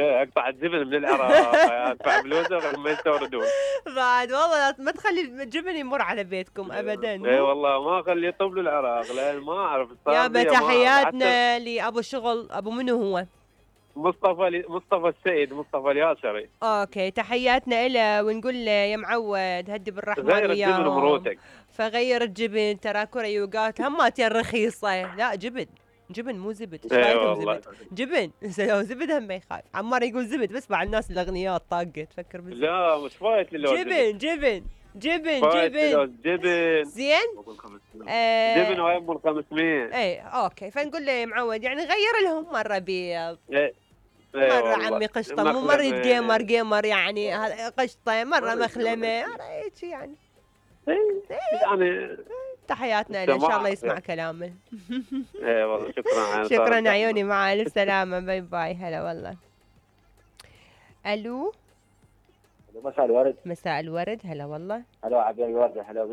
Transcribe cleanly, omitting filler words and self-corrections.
اقطع الجبن من العراق ادفع فلوسه ما يستوردون. بعد والله ما تخلي الجبن يمر على بيتكم ابدا. اي والله ما اخليه يطب العراق لان ما اعرف. يابا تحياتنا لابو شغل، ابو منو هو؟ مصطفى السيد، مصطفى الياسري. اوكي تحياتنا له ونقول له يا معود هدي بالرحمن غير الجبن ومروتك. فغير الجبن ترى كريوقات هماتين رخيصه. لا جبن مو زبد. اي والله جبن لو زبد هم ما يخاف. عمار يقول زبد بس مع الناس الاغنياء الطاقه تفكر بالزبد. لا مش فايت لو جبن زين. جبن ويم ال 500. اي اوكي فنقول له يا معود يعني غير لهم مره بيض، مرة عمي قشطة، مو مرة جيمر يعني قشطة، مرة مخلمة هيك يعني. يعني تحياتنا له ان شاء الله يسمع كلامه. اي والله شكرا عيوني، مع الف سلامة، باي باي. هلا والله. الو مساء الورد. مساء الورد. هلا والله. هلا عبير الورد. هلا